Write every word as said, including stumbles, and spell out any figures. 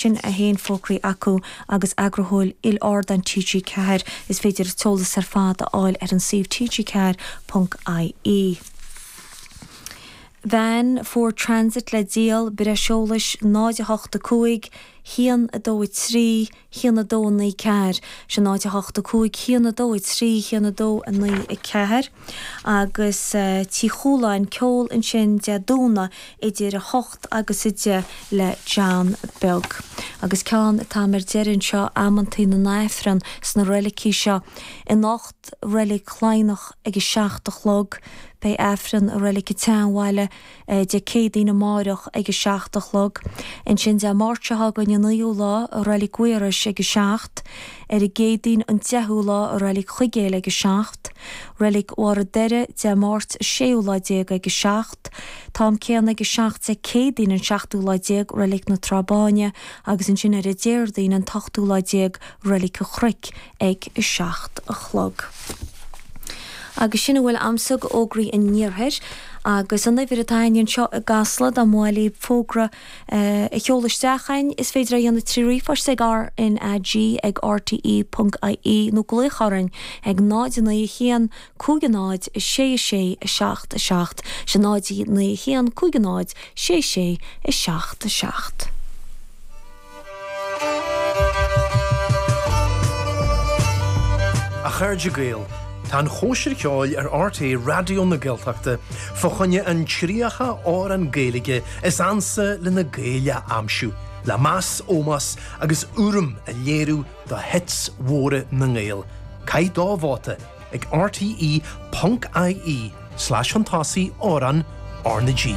Sin a haon fógraí acu agus eagarthóir il-ardán TG Ceathair is féidir eolas ar fad a fháil ar an suíomh TG ceathair ponc IE. Veain Ford Transit le díol breis eolais náid a hocht a cúig, haon a dó a trí, haon a dó a naoi ceathair, sin náid a hocht a cúig, haon a dó a trí, haon a dó a naoi a ceathair. Agus Tí Chualáin ceol ansin Dé Domhnaigh idir a hocht agus a deich le John Beag. Agus ceann atá ar deireadh anseo amantaí na nAifreann sna reilicí seo. Anocht Reilig Chladhnach ag a seacht a chlog, beidh Aifreann i Reilig an tSeanbhaile Dé Céadaoin amárach ag a seacht a chlog. Ansin Dé Máirt seo chugainn an naoú lá i Reilig Mhaorais ag a seacht, ar an gCéadaoin an deichiú lá i Reilig Chuigéil ag a seacht, Reilig Bharr an Doire Dé Máirt an séú lá déag ag a seacht, t-am céanna ag a seacht Dé Céadaoin an seachtú lá déag Reilig na Trá Báine agus ansin ar an Déardaoin an t-ochtú lá déag Reilig an Chnoic ag a seacht a chlog. Agus sin a bhfuil a'msa d'fhógraí an iarthair agus an uimhir atá a'inn anseo i gCasla dá mba mhaith libh fógra a sheoladh isteach chugainn is féidir é a dhéanamh trí ríomhphost ag RNAG ag rte ponc ie nó glaoch orainn ag náid naoi a haon cúig a náid a sé a sé a seacht a seacht sin náid naoi a haon cúig a náid sé sé a seacht a seacht. A chairde Gael, tá an Chóisir Cheoil ar RTÉ Raidió na Gaeltachta fá choinne an tríocha amhrán Gaeilge is ansa le na Gaeil a aimsiú, le meas, ómós agus urraim a léiriú do hits mhóra na nGael. Caith do vóta ag rte ponc ie slash chun tosaigh amhrán R na G.